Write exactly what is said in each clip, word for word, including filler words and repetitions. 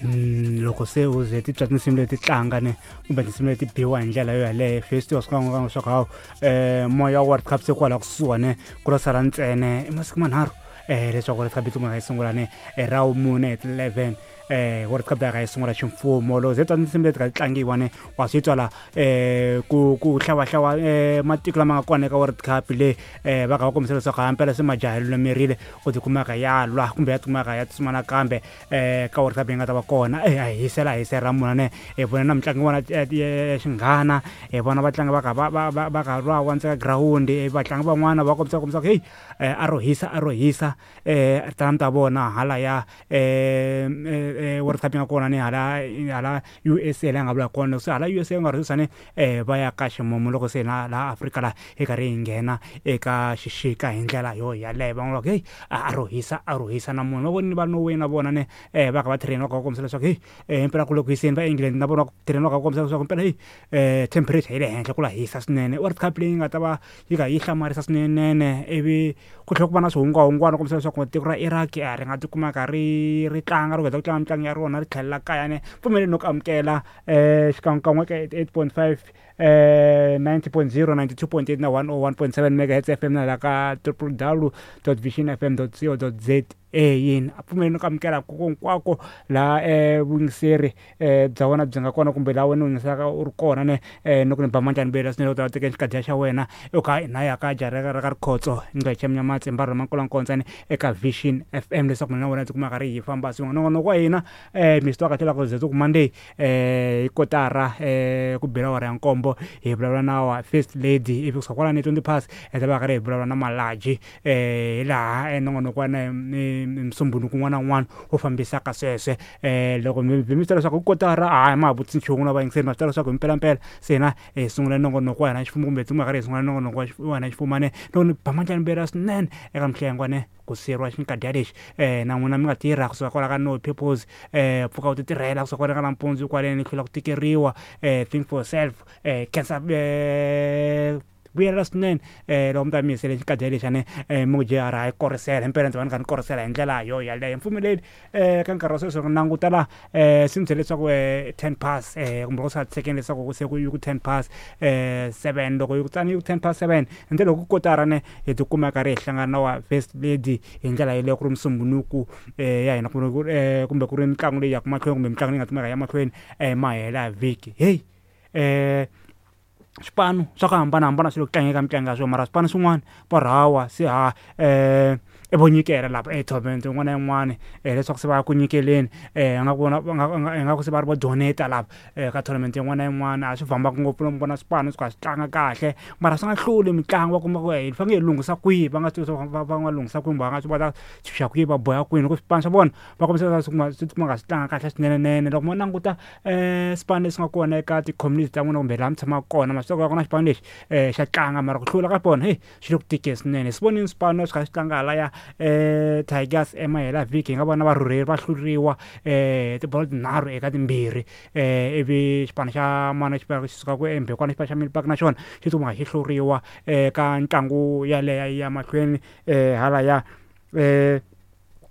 Loko se u ze ti twa tinsimu leti tlanga ne kumbe tinsimu leti biwa hi ndlela yo yaleyo, first wa swi nga leswaku hawu um moya wa World Cup se kwala kusuhani ku lo sala ntsena i masiku manharhu um leswaku World Cup yi tikuma yi sungula ne ra vumune hi ti-eleven eh World Cup ya ka yi sungula ximfumo. Loko ze twa tinsimu leti ka ti tlangiwa ne wa swi twa la eh ku ku hlawahlawa eh matiko lama nga kona eka World Cup leyi eh va kha va kombisa leswaku hampela se majaha lulamerile ku tikumaka ya lwa kumbe ya tikumaka ya tsutsuma nakambe eh ka World Cup yi nga ta va kona. Eh a hisela hisela munhu ne hi vona na mitlangu yin'wana ya xinghana, hi vona vatlangi va kha va va va va kha lwa ndzeni ka girawundi, vatlangi van'wana va kombisa kombisa ku heyi a ro hisa a ro hisa eh talenta ta vona hala ya eh World Cup yi nga kona ni hala hala U S A laha nga vula kona se hala U S A nga ri sani eh va ya ka ximumu loko se na laha Afrika laha hi karhi hi nghena eka xixika hi ndlela yo yaleyo. Van'wana va ku heyi a ro hisa a ro hisa na munhu va voni va Norway na vona ne eh va kha va train va kha va kombisa leswaku heyi eh impela ku le ku hiseni. Va England na vona va train va kha va kombisa leswaku impela heyi eh temperature yi le henhla, ku la hisa swinene. World Cup leyi nga ta va yi kha yi hlamarisa swinene, ivi ku tlhela ku va na swihungwahungwana kombisa leswaku tiko ra Iraq a ri nga tikumaka ri ri tlanga ri heta ku tlanga mitlangu ya rona ri tlhelela kaya ne. Pfumeleni no ku amukela eh xikan'wekan'we ka eight point five, eh ninety point zero, ninety-two point eight na one oh one point seven megahertz F M na la ka w w w dot vision f m dot co dot za yini. A pfumeleni ku amukela hinkwako laha eh vuyingiseri eh bya wena byi nga kona kumbe laha wena u yingiselaka u ri kona ne eh no ku ni ba manjani bela swinene u ta teka xikadya xa wena u kha na ya ka jara ra ka rikhotso ngece mnyamatsi mbaro mankula eka Vision F M leswaku mina na wena tikumaka ri hi famba swin'we. Nongonoko wa hina eh mi swi tiva kahle loko ze ku Monday eh hi kotara eh ku bela awara ya nkombo hi vulavula na wa first lady, ivi kusuka kwalani twenty past hi ta va karhi hi vulavula na Malaji eh hi laha nongonoko wa na musumbunuko un'wana na un'wana wu fambisaka sweswe. eh loko mi mi swi leswaku kotara a ma ha vutisi nchumu na vayingiseri, ma swi tiva leswaku himpelampela se hina hi sungula nongonoko wa hina ximfumo kumbe hi karhi hi sungula nongonoko wa hina ximfumo ne. Loko ni ba mandlani mbela swinene eka mhlengwa ne ku siyeriwa xinkadya lexi eh na n'wina mi nga tirha kusuka kwala ka no purpose eh pfuka u ti tirhela kusuka kwala ka nampundzu kwaleni hlula ku tikeriwa eh think for yourself eh cancer eh vuyela swinene eh loko mi ta mi yisele xikadya lexi ne eh mi ku J R hayi korisela himpela ndzi va ni kha ni korisela hi ndlela yo yaleyo. Mpfumeleli eh ka nkarhi wa sweswi ku languta la eh swi ni byele leswaku eh ten past eh kumbe ku sa tshekeni leswaku se ku yi ku ten past eh seven, loko yi ku tsani yi ku ten past seven hi ndlela ku kotara ne hi tikuma karhi hi hlangana na wa first lady hi ndlela yeleyo ku ri musumbunuku eh ya hina kumbe eh kumbe ku ri mitlangu leyi yaka mahlweni kumbe mitlangu leyi nga kumeka ya mahlweni eh mahela vhiki hey eh swipano swa ku hambanahambana swi le ku tlangeni ka mitlangu ya swona, mara swipano swin'wana va rhawa se ha eh i vo nyikela lapha e tournament yin'wana na yin'wana um leswaku se va ya ku nyikeleni um nga ku vona ingaku se va ri vo donate lapha um ka tournament yin'wana na yin'wana. A swi fambaka ngopfu loko mi vona swipano swi kha swi tlanga kahle mara swi nga hluli mitlangu, va kuma ku hi fanele hi lunghisa kwihi, va nga swi tivi va va nga lunghisa kwihi, va nga swi va ta chuxa kwihi, va boha kwini loko swipano swa vona va kombisa leswaku swi swi tikuma nga swi tlanga kahle swinenenene. Loko mo languta um swipano leswi nga kona eka ti-community ta n'wina kumbe laha mi tshamaka kona, ma swi tiva ku na xipano lexi um xa tlanga mara ku hlula ka vona heyi swi le ku tikeni swinene. Hi swi vonile swipano swi kha swi tlanga halaya um Tigers emahela vhiki, hi nga vona varhurheli va hluriwa um tibolo tinharhu eka timbirhi um ivi xipano xa mana xipano xi sukaka embekwana xipano xa Milpark na xona xi tikuma xi hluriwa eka ntlangu yaleyo ya mahlweni um halaya um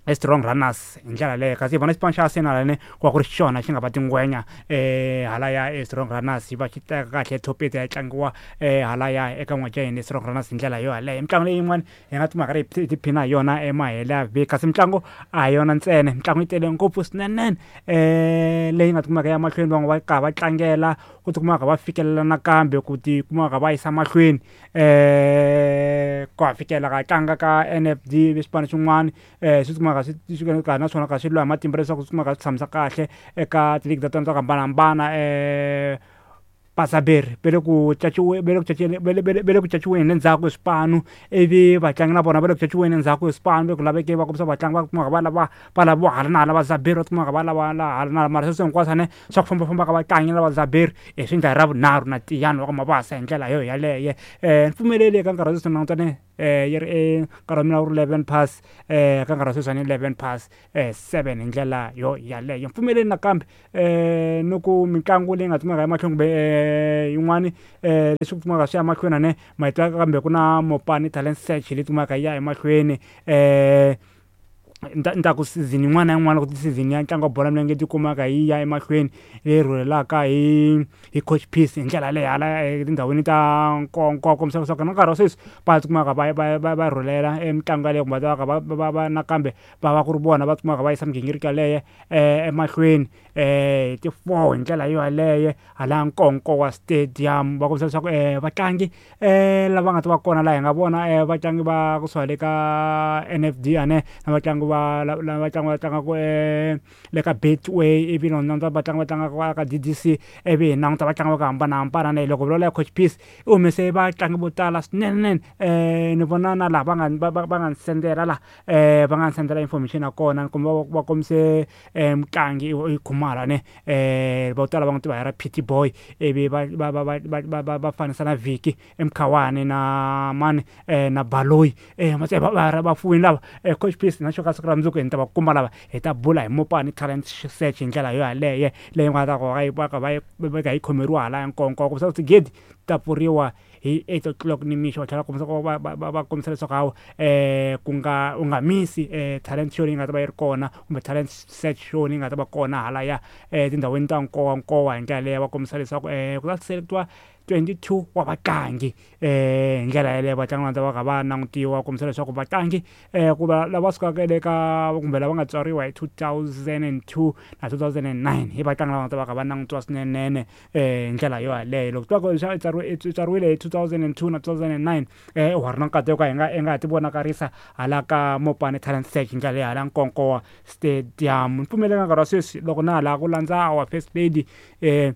Strong Runners hi ndlela leyo. Kasi hi vona xipano xa Arsenal ne ku va ku ri xona xi nga va tingwenya um halaya e Strong Runners, yi va xi teka kahle top eight ya tlangiwa um halaya eka n'waja hina Strong Runners hi ndlela yo yaleyo. Mitlangu leyi yin'wana hi nga timhaka ri hi tiphina hi yona emahela vhiki, kasi mitlangu a hi yona ntsena, mitlangu yi tele ngopfu swinene um leyi nga tikumaka ya mahlweni. Van'we va karhi va tlangela ku tikumaka va fikelela nakambe ku tikumaka va yisa mahlweni um ku ha fikela ka tlanga ka N F D, swipano swin'wana um swi tikumaka swi swi ka naswona ka swi lwa hi matimba leswaku swi kumaka swi tshamisa kahle eka tiligi ta tona to hambanahambana. um Pasaberi ve le ku caciwe ve le ku caceni ve le ve le ve le ku caciweni le ndzhaku hi swipanu, ivi vatlangi na vona va le ku caciweni endzhaku hi swipanu ve ku laveke va kombisa vatlangi va kumaka va lava va laviwa hala na hala, vazaberi va kumaka va lava la hala na hala, mara sweswo hinkwaswo ne swa ku fambafamba ka vatlangi na vazaberi hi swi endla hi ra vunharhu na Tiyani wa ka Mabasa hi ndlela yo yaleye. um ni pfumeleli eka nkarhi wa sweswi langutane um yi ri nkarhi wa mina wu ri eleven past um ka nkarhi wa sweswi ni eleven past um seven hi ndlela yo yaleyo. Mpfumeleli nakambe um ni ku mitlangu leyi nga kumeka emahlweni kumbe um yin'wani um leswi kumaka swi ya mahlweni ne ma yi tiva kambe ku na Mopani Talent Search leyi kumaka yi ya emahlweni um Ni ta ku season yin'wana na yin'wana loko season ya ntlangu wa bolo ya milenge yi tikumaka yi ya emahlweni leyi rhurhelaka hi hi coach Peace hi ndlela yaleyo hala etindhawini ta nkoka kombisa leswaku na nkarhi wa sweswi va tikumaka va va va va rhurhela mitlangu yaleyo kumbe va va va va nakambe va va ku ri vona va tikumaka va yisa migingiriko yaleyo emahlweni hi ti-four hi ndlela yo yaleyo hala Nkowankowa Stadium. Va kombisa leswaku vatlangi lava nga ta va kona laha hi nga vona vatlangi va kusuka le ka N F D ane na vatlangi va lava vatlangi va tlangaka le ka Betway, ivi na languta vatlangi va tlangaka ka D D C, ivi hi languta vatlangi va ku hambanahambana. Ne loko vulavula hi coach Peace, i humese vatlangi vo tala swinene. Ni vona na laha va nga va va va nga ni sendela la va nga ni sendela information ya kona kumbe va va kombise mutlangi i Khumalo ne vo tala va n'wi tiva hi ra P T Boy, ivi va va va va va va va fanisa na Vicky Mkhawani na mani na Baloyi va va fuwini lava. Coach Peace na xo ka siku ra mundzuku hi ta va kuma lava hi ta bula hi Mopani Talent Search hi ndlela yo yaleyo leyi nga ta ku va yi va ka va yi va yi khomeriwa hala Nkowankowa. Kombisa ku tigedi ta pfuriwa hi eight o'clock nimixo. Va tlhela va kombisa ku va va va kombisa leswaku hawa ku nga u nga misi talent show leyi nga ta va yi ri kona kumbe talent search show leyi nga ta va kona halaya etindhawini ta Nkowankowa hi ndlela leyo. Va kombisa leswaku ku ta selectiwa twenty-two wa vatlangi hi ndlela yaleyo. Vatlangi va ta va kha va langutiwa kombisa leswaku vatlangi ku va lava sukaka le ka kumbe lava nga tswariwa hi two thousand and two na two thousand and nine hi vatlangi lava nga ta va kha va langutiwa swinene hi ndlela yo yaleyo. Loko twa ku i tswariwile hi two thousand and two na two thousand and nine, wa ri na nkateko hi nga hi nga ha ti vonakarisa hala ka Mopani Talent Search hi ndlela leyi hala Nkowankowa Stadium. Ni pfumeleka nkarhi wa sweswi loko na ha lava ku landza our first lady um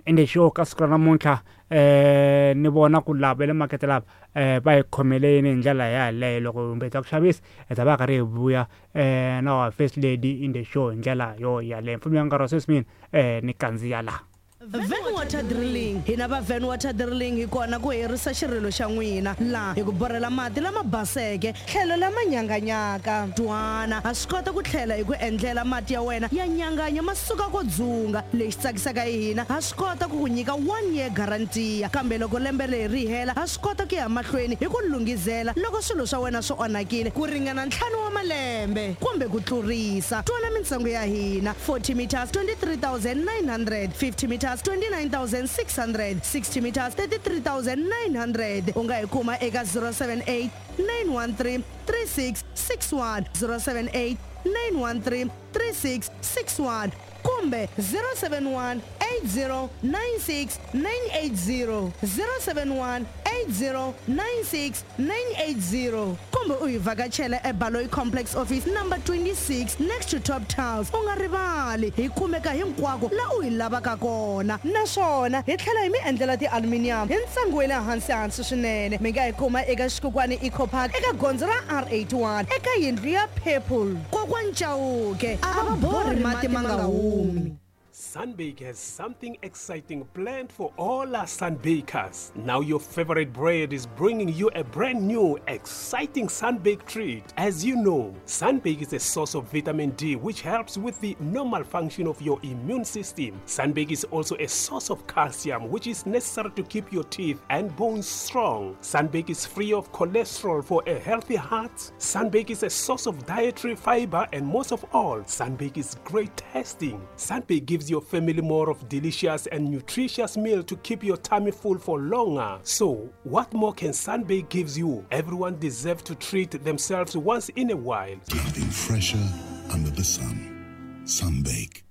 in the show ka siku ra namuntlha, eh ni vona ku lava le makete lava eh va hi khomele yini hi ndlela yaleyo. Loko kumbe ta ku xavisa hi ta va karhi hi vuya eh na our first lady in the show hi ndlela yo yaleyo. Mpfumela nkarhi wa sweswi mina eh ni kandziya laha. Van Water Drilling. Hina va Van Water Drilling hi kona ku herisa xirilo xa n'wina laha hi ku borhela mati lama baseke tlhelo lama nyanganyaka. Twana, ha swi kota ku tlhela hi ku endlela mati ya wena ya nyanganya ma suka ko dzunga. Lexi tsakisaka hi hina, ha swi kota ku ku nyika one year guarantee, kambe loko lembe leri ri hela ha swi kota ku ya mahlweni hi ku lunghizela loko swilo swa wena swi onhakile ku ringana ntlhanu wa malembe kumbe ku tlurisa. Twana mintsengo ya hina: forty meters twenty-three thousand nine hundred, fifty meters twenty-nine thousand six hundred, sixty meters thirty-three thousand nine hundred. U nga hi kuma eka zero seven eight nine one three three six six one, zero seven eight nine one three three six six one kumbe zero seven one eight zero nine six nine eight zero, zero seven one eight zero nine six nine eight zero, kumbe u hi vhakachela eBaloyi Complex, office number twenty-six, next to Top Tiles. U nga rivali, hi kumeka hinkwako la u hi lavaka kona, naswona hi tlhela hi mi endlela ti-aluminium hi ntsengo wa le hansi hansi swinene. Mi nga hi kuma eka Xikukwani Eco Park eka gondzo ra R eighty-one eka yindlu ya purple. Kokwani Chauke a va borhi mati ma nga humi. Sunbake has something exciting planned for all our sunbakers. Now your favorite bread is bringing you a brand new, exciting Sunbake treat. As you know, Sunbake is a source of vitamin D, which helps with the normal function of your immune system. Sunbake is also a source of calcium, which is necessary to keep your teeth and bones strong. Sunbake is free of cholesterol for a healthy heart. Sunbake is a source of dietary fiber, and most of all, Sunbake is great tasting. Sunbake gives your family more of delicious and nutritious meal to keep your tummy full for longer. So, what more can Sunbake gives you? Everyone deserves to treat themselves once in a while. Nothing fresher under the sun. Sunbake.